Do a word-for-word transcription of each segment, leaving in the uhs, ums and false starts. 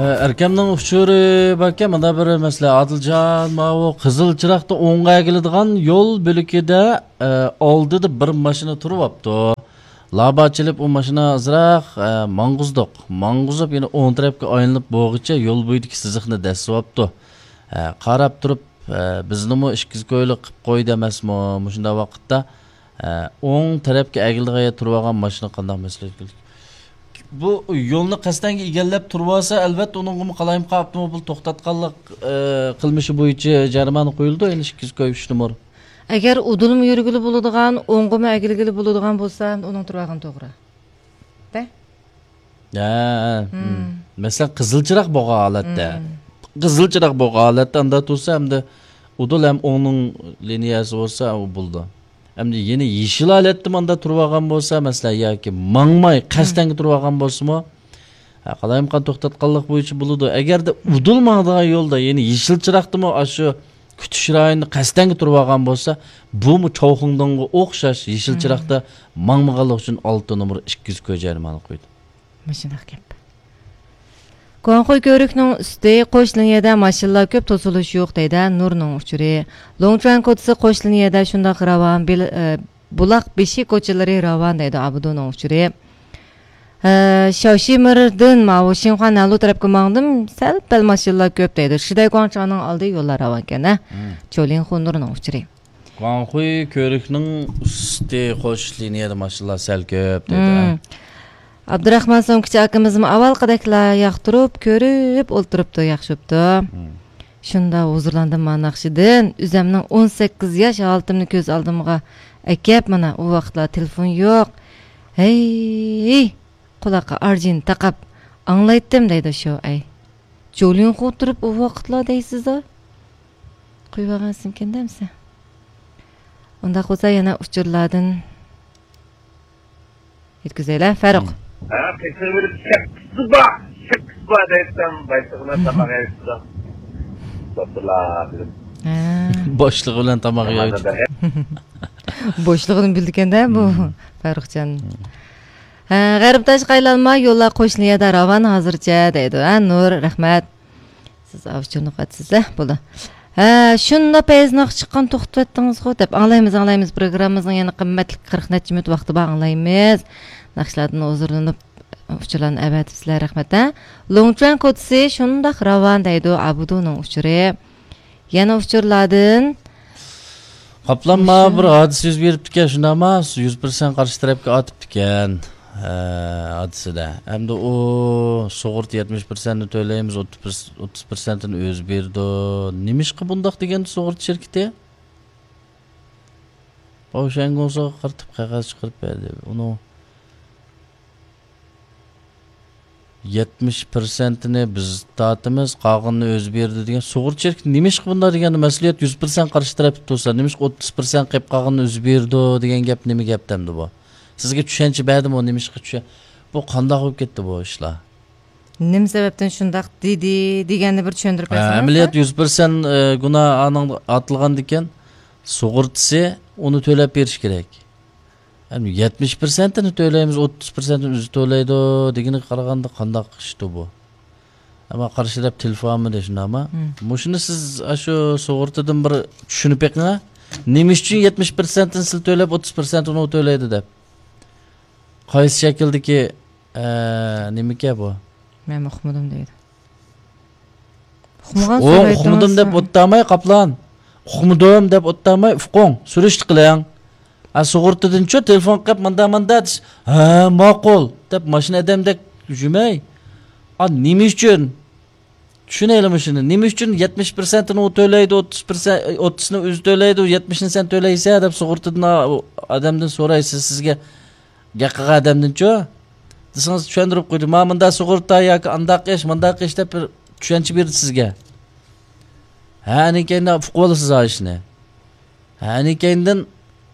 ئەركەمنىڭ ئۇچۇرى باركەن، مانا بىر مەسىلە، ئادىلجان، ماۋۇ قىزىل چىراغدا ئوڭغا ئەگىلىدىغان يول بۆلىكىدە، ئە، ئالدىدا بىر ماشىنا تۇرۇۋاپتۇ. لابا چېلىپ ئۇ ماشىنا ئازراق، ئە، ماڭغۇزدۇق. ماڭغۇزۇپ يەنە ئوڭ تەرەپكە ئايلىنىپ بولغۇچە يول بويىدىكى سىزىقنى دەسسىۋاپتۇ. ئە، قاراپ تۇرۇپ، ئە، بىزنىمۇ ئىككىز كويلۇق قىپ قويدى ئەمەسمۇ؟ مۇشۇنداق ۋاقىتتا، ئە، ئوڭ تەرەپكە ئەگىلىدىغان يەردە تۇرۇۋالغان ماشىنا قانداق مەسلىھەت؟ بۇ يولنى قەستەنگە ئىگىلەپ تۇرۇۋالسا، ئەلۋەتتە ئۇنىڭغىمۇ قالايمىقان ئاپتوموبىل توختاتقانلىق، ئە، قىلمىشى بويىچە جەرىمانە قويۇلىدۇ، يەنە ئىككىز كوي ئۈچ نومۇر. ئەگەر ئۇدۇلمۇ يۈرگىلى بولىدىغان، ئوڭغىمۇ ئەگىلگىلى بولىدىغان بولسا، ئۇنىڭ تۇرۇۋالغىنى توغرا. دە؟ ھە، ھە. مەسىلەن، قىزىل چىراغ بولغان ھالەتتە. قىزىل چىراغ بولغان ھالەتتە ئاندا تۇرسا، ئەمدى ئۇدۇل ھەم ئوڭنىڭ لىنىيەسى بولسا، ئۇ بولىدۇ. ئەمدى يەنە يېشىل ھالەتتە ماندا تۇرۇۋالغان بولسا، مەسىلەن، ياكى ماڭماي، قەستەنگە تۇرۇۋالغان بولسىمۇ، ھە، قالايمىقان توختاتقانلىق بويىچە بولىدۇ. ئەگەردە ئۇدۇل ماڭىدىغان يولدا، يەنى يېشىل چىراغدىمۇ ئاشۇ كۈتۈش رايونىدا قەستەنگە تۇرۇۋالغان بولسا، بۇمۇ چاۋخۇڭدىڭغا ئوخشاش يېشىل چىراغدا ماڭمىغانلىقى ئۈچۈن ئالتە نومۇر ئىككى يۈز كوي جەرىمانە قويىدۇ. مۇشۇنداق گەپ. گۇاڭخۇي كۆۋرۈكنىڭ ئۈستى قوش لىنىيەدە ماشىنىلار كۆپ، توسۇلۇش يوق، دەيدۇ نۇرنىڭ ئۇچۇرى. لوڭچۈەن كوچىسى قوش لىنىيەدە شۇنداق راۋان، بىل-، ئە، بۇلاق بېشى كوچىلىرى راۋان، دەيدۇ ئابدۇنىڭ ئۇچۇرى. ئە، شاۋشىمىردىن ماۋۇ شىنخۇا نەنلۇ تەرەپكە ماڭدىم، سەل پەل ماشىنىلار كۆپ، دەيدۇ. شىدەي گۇاڭچاڭنىڭ ئالدى يوللار راۋانكەن، ھە؟ چولىڭخۇ نۇرنىڭ ئۇچۇرى. گۇاڭخۇي كۆۋرۈكنىڭ ئۈستى قوش لىنىيەدە ماشىنىلار سەل كۆپ، دەيدۇ، ھە؟ ئابدۇراخمان سومكىچى ئاكىمىزمۇ ئاۋۋالقىدەكلا ياقتۇرۇپ، كۆرۈپ ئولتۇرۇپتۇ، ياخشى بوپتۇ. شۇنداق ھۇزۇرلاندىم ما ناخشىدىن، ئۆزەمنىڭ ئون سەككىز ياش ھالىتىمنى كۆز ئالدىمغا ئەكەپ، مانا ئۇ ۋاقىتلار تېلېفون يوق. ھەي، قۇلاققا ئارجىنى تاقاپ ئاڭلايتتىم، دەيدۇ شۇ ئەي. جولىنخۇ تۇرۇپ ئۇ ۋاقىتلار دەيسىز-دە. قويۇۋالغانسىمكەن دەمسە. ئۇنداق بولسا يەنە ئۇچۇرلاردىن يەتكۈزەيلى، فاروق. ھە، قېتىۋېرىپ شەپكىسى بار، شەپكىسى بار دەيسەن، بايلىقىنى تاماق يەيسىز. دوختۇرلار بىلىپ. ھە. بوشلۇقى بىلەن تاماق يەيدۇ. بوشلۇقىنى بىلىدىكەن-دە بۇ فاروقجان. ھە، غەربىتاش قايلانما يوللار قوشنا يەردە راۋان ھازىرچە دەيدۇ. ھە، نۇر، رەھمەت. سىز ئاۋۇ چۈشىنىۋاتىسىز-ە، بولدى. ھە، شۇنداق پەيزناخ چىققان توختىۋەتتىڭىزغۇ دەپ. ئاڭلايمىز، ئاڭلايمىز. پروگراممىمىزنىڭ يەنە قىممەتلىك قىرىق نەچچە مىنۇت ۋاقتى بار، ئاڭلايمىز. ناخشىلاردىن ھۇزۇرلىنىپ ئۇچۇرلارنى ئەۋەتىپسىلەر، رەھمەت، ھە. لوڭچۈەن كوچىسى شۇنداق راۋان دەيدۇ، ئابدۇنىڭ ئۇچۇرى. يەنە ئۇچۇرلاردىن. قاپلانما بىر ھادىسە يۈز بېرىپتىكەن، شۇنداقما؟ يۈز پىرسەنت قارشى تەرەپكە ئاتىپتىكەن. ھە، ھادىسىدە. ئەمدى ئۇ سۇغۇرتا يەتمىش پىرسەنتنى تۆلەيمىز، ئوتتۇز پىرسەنتىنى ئۆزى بېرىدۇ. نېمىشقا بۇنداق دېگەندە سۇغۇرتا شىركىتى؟ باۋشەنگوڭسىغا قارىتىپ قەغەز چىقىرىپ بەردى. ئۇنىڭ يەتمىش پىرسەنتىنى بىز تارتىمىز، قالغىنىنى ئۆزى بېرىدۇ دېگەن. سۇغۇرتا شىركىتى نېمىشقا بۇنداق دېگەندە، مەسئۇلىيەت يۈز پىرسەنت قارشى تەرەپتە تۇرسا، نېمىشقا ئوتتۇز پىرسەنت قېلىپ قالغىنىنى ئۆزى بېرىدۇ دېگەن گەپ نېمە گەپتە ئەمدى بۇ؟ سىزگە چۈشەنچە بەردىمۇ، نېمىشقا چۈشەن-، بۇ قانداق بولۇپ كەتتى بۇ ئىشلار؟ نېمە سەۋەبتىن شۇنداق دېدى دېگەننى بىر چۈشەندۈرۈپ ھە، بەرسىڭىز، ئەمەلىيەت ھە؟ يۈز پىرسەنت، ئە، گۇناھ ئانىڭ ئاتىلغاندىكىن، سۇغۇرتىسى ئۇنى تۆلەپ بېرىش كېرەك. يەتمىش پىرسەنتىنى تۆلەيمىز، ئوتتۇز پىرسەنتىنى ئۆزى تۆلەيدۇ دېگىنىگە قارىغاندا قانداق ئىشتۇ بۇ؟ ئەمما قارشى تەرەپ تېلېفون ئالمىدى، شۇنداقمۇ؟ مم. مۇشۇنى سىز ئاشۇ سۇغۇرتىدىن بىر چۈشىنىپ بېقىڭ، ھە؟ نېمە ئۈچۈن يەتمىش پىرسەنتىنى سىز تۆلەپ، ئوتتۇز پىرسەنتىنى ئۇ تۆلەيدۇ دەپ؟ قايسى شەكىلدىكى، ئە، نېمىكەن بۇ؟ مەن ئۇقمىدىم دەيدۇ. ئۇقمىغان ئۇ سورايتتىڭىز. ئۇقمىدىم دەپ ئوتتاماي، قاپلان. ئۇقمىدىم دەپ ئوتتاماي، ئۇقۇڭ، سۈرۈشتە قىلىڭ. ھە، سۇغۇرتىدىنچۇ تېلېفون قىلىپ، ماندا، ماندا دېسە، ھە، ماقۇل، دەپ ماشىنا ئادەمدەك يۈرمەي. ئا، نېمە ئۈچۈن؟ چۈشىنەيلى مۇشۇنى. نېمە ئۈچۈن يەتمىش پىرسەنتىنى ئۇ تۆلەيدۇ، ئوتتۇز پىرسەنت، ئوتتۇزنى ئۆزى تۆلەيدۇ، يەتمىشنى سەن تۆلەيسەن، دەپ سۇغۇرتىدىن ئا-، ئادەمدىن سورايسىز، سىزگە گەپ قىلغان ئادەمدىنچۇ؟ دېسىڭىز، چۈشەندۈرۈپ قويدى. ما مۇندا سۇغۇرتا ياكى ئانداق ئىش، مۇنداق ئىش دەپ بىر چۈشەنچە بېرىدۇ سىزگە. ھە، ئەنىكەينى ئۇقۇۋالىسىز ھا ئىشنى. ھە، ئەنىكەينىدىن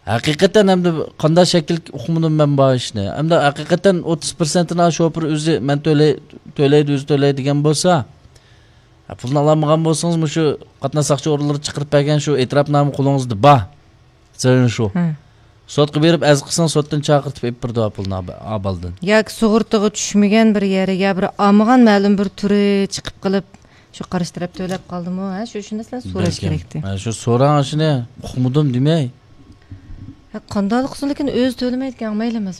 ھەقىقەتەن ئەمدى قانداق شەكىل ئۇقمىدىم مەن بار ئىشنى. ئەمدى ھەقىقەتەن ئوتتۇز پىرسەنتىنى شوپۇر ئۆزى مەن تۆلەي-، تۆلەيدۇ، ئۆزى تۆلەي دېگەن بولسا، ھە، پۇلنى ئالالمىغان بولسىڭىز، مۇشۇ قاتناش ساقچى ئورۇنلىرى چىقىرىپ بەرگەن شۇ ئېتىراپنامە قولىڭىزدا بار. سىلەرنىڭ شۇ. ھە. سوتقا بېرىپ ئەرز قىلساڭ، سوتتىن چاقىرتىپ ئېلىپ بېرىدۇ پۇلنى ئابالدىن. ياكى سۇغۇرتىغا چۈشمىگەن بىر يەرگە، بىر ئالمىغان مەلۇم بىر تۈرى چىقىپ قېلىپ، شۇ قارشى تەرەپ تۆلەپ قالدىمۇ؟ ھە، شۇ شۇ نەرسىلەرنى سوراش كېرەكتى. شۇ سوراڭ ئىشىنى ئۇقمىدىم دېمەي. قانداقلىق قىلسۇن، لېكىن ئۆزى تۆلىمەيدىكەن، مەيلىمىز.